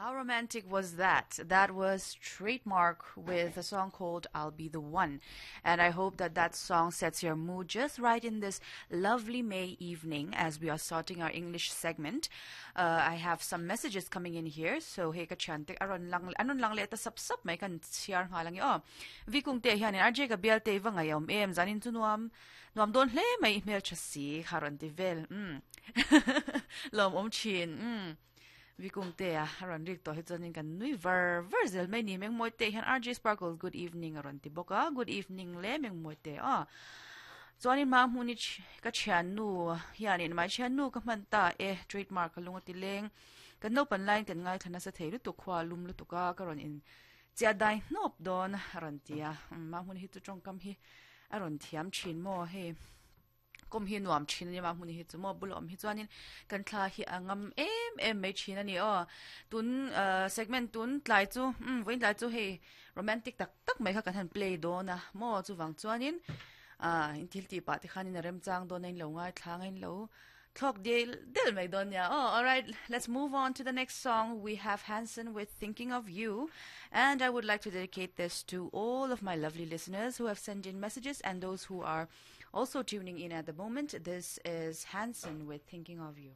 How romantic was that? That was Trademark with a song called I'll Be the One. And I hope that that song sets your mood just right in this lovely May evening as we are starting our English segment. Uh, I have some messages coming in here. So hey ka thiante aron lang anon lang le ta sap sap mai kan chiar nga lang o. Vi kung te hian RJ ka bial te wa ngai om em zanin chu nuam nuam don hle mai hmel tha si kharon ti vel. Mm. Lom om chin. Mm. Vikungtea a rawn rik tawh hi chuanin kan nui var var zel mai ni. Mengmawite hian RJ Sparkle good evening a rawn ti bawk a, good evening le Mengmawite aw. Chuanin hma hmun hi ka thiannu hianin mai thiannu ka hman ta e trademark ka lung a ti leng. Kan naupan laiin kan ngaithla nasa thei lutuk khua lum lutuk a ka rawn in chiah dai hnawp dawn a rawn ti a. Hma hmun hi chu tawngkam hi a rawn thiam thin maw hei. Kawm hi nuam thin a ni a, hmun hi chu maw bula awm hi chuanin kan thla hi a ngam em em mai thin a ni aw. Tun ah segment tun tlai chu umm vawiin tlai chu hei romantic tak tak mai kha kan han play dawn a maw chuvang chuanin ah in thil tih pah te khanin a remchang dawn a in lo ngaithla ang a in lo thlawk del del mai dawn nia aw. Alright let's move on to the next song we have Hanson with thinking of you and I would like to dedicate this to all of my lovely listeners who have sent in messages and those who are Also tuning in at the moment, this is Hanson with Thinking of You.